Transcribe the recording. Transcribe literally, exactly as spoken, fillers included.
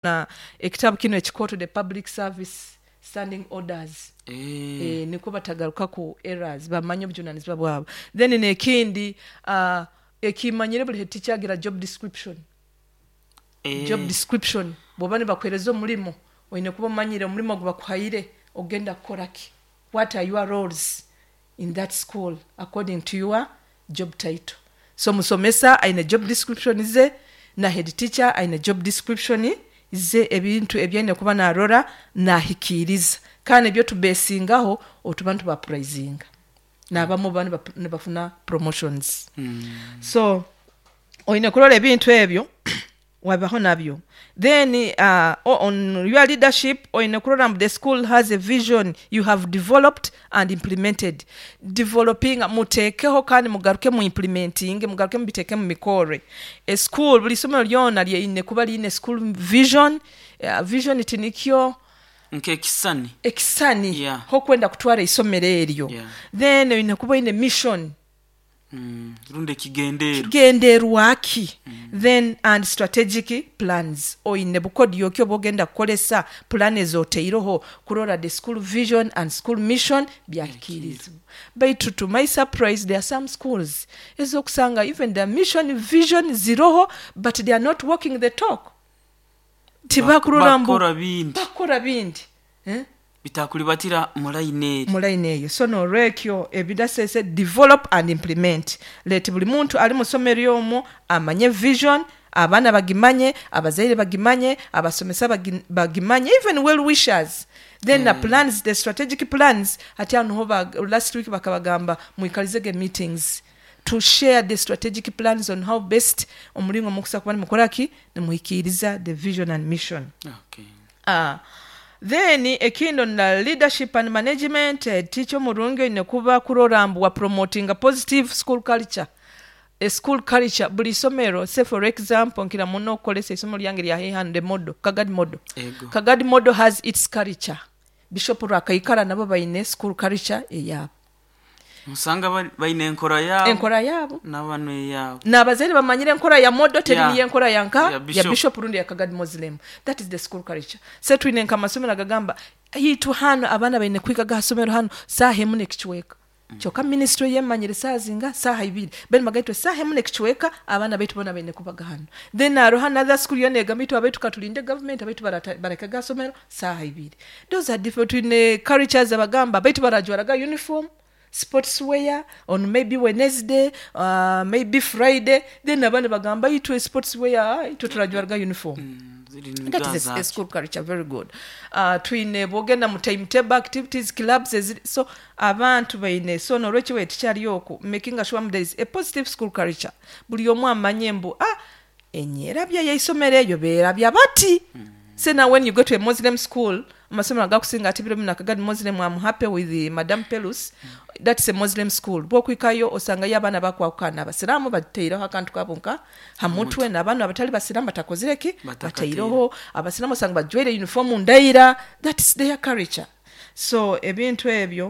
Na ekitabu kinu ekikooto, the Public Service Standing Orders. Eh, eh, nikwo batagaruka ku errors, bamanye obujunanizibwa bwabo. Then nekindi, uh, ekimanyire buli head teacher agira job description. Eh, job description, bwoba nibakuhereza omulimo, oine kuba omanyire omulimo ogu bakuhaire ogenda kukora ki, what are your roles in that school according to your job title. So musomesa aine job description ze, na head teacher aine job description ze, ebintu ebyaine kuba narora nahikiiriza, kandi ebyo tubesingaho otuba nitubapraisinga nabamu baba niba- nibafuna promotions. Mm, so oine kurora ebintu ebyo wabaho nabyo. Then uh, on your leadership, oine kurora mbu the school has a vision you have developed and implemented. Developing, muteekeho kandi mugaruke mu implementing, mugaruke mubiteeke mu mikore. A school, buli isomero lyona lyeine kuba liine school vision. uh, vision tinikyo Nk'ekisani. Ekisani Yeah. hokwenda kutwara isomero eryo. Yeah. Then oine kuba oine mission. Mm, rundi ekigendeero. Kigenderwaki. Then and strategic plans, oine bukodyo ki oba ogenda kukolesa plan ezoteireho kurora the school vision and school mission byahikirizibwa. Baitu to my surprise, there are some schools ezokusanga even the mission, vision ziroho, but they are not walking the talk. Tibakurora mbu Bakora bindi. Bakora bindi, eh? Bitakulibatira mu layini eri. Mu line eyo. So nolwekyo ebidasese, develop and implement. Let buli muntu ali mu ssomero omwo amanye vision, abaana bagimanye, abazaire bagimanye, abasomesa bagi- bagimanye, even well wishers. Then the plans, the strategic plans, ati anuho ba- last week bakabagamba mwikalizege meetings to share the strategic plans on how best omulingo mukusa kuba nimukoraki, nimuhikiriza the vision and mission. Okay. Ah. Then ekindi na leadership and management, eh, teacher omurungi oine kuba kurora mbu wa promoting a positive school culture. A school culture, buli isomero, say for example, nkira muno okukolesa isomero lyange lya hande Model, Kagadi Model. Ego. Kagadi Model has its culture. Bishop Rwakaikara nabo baine school culture eyabo. Musanga bali- balina enkora yaabo. Enkora yaabo. N'abano eyaabo. N'abazaire bamanyire enkora ya Model teri Yeah. niyo enkora yanka Ya ya Bishop. Bishop rundi ya Kagadi Muslim. That is the school culture. Se twine nka amasomero agagamba yitu hano abaana baine kwiga gasomero hano saaha emu n'ekicweka, kyokka ministry yemanyire saaha zinga, saaha ibiri. Ben bagaitwe saaha emu n'ekicweka abaana baitu bona baine kubaga hano. Then hariho another school yona egamba itu abaitu katulinde government, abaitu barata- bareka gasomero saaha ibiri. Those are different. Twine cultures abagamba baitu barajwaraga uniform, sports wear on maybe Wednesday, uh, maybe Friday. Then abandi bagamba itwe sports wear, ah, itwe turajwaraga uniform. Mm, ziri That is a, a zaaki. school culture, very good. uh, twine bwogenda mu timetable activities, clubs eziri, so abantu baine. So nolwekyo wetikyali oku making sure there is a positive school culture, buli omu amanye mbu ah, enyerabya yeisomero eyo beerabya bati. So now when you go to a Muslim school, amasomero agakusinga ati biro bino Kagadi Muslim, I'm happy with the Madam Pelus, that's a Muslim school. Bwokwikayo osangayo abaana bakwawukana, abasiraamu bateireho akantu kabo nka hamutwe, n'abaana abatali basiraamu batakozireki. Batakateireho. Bateireho. Abasiraamu osanga bajwaire uniform ndaira. That's their culture. So ebintu ebyo.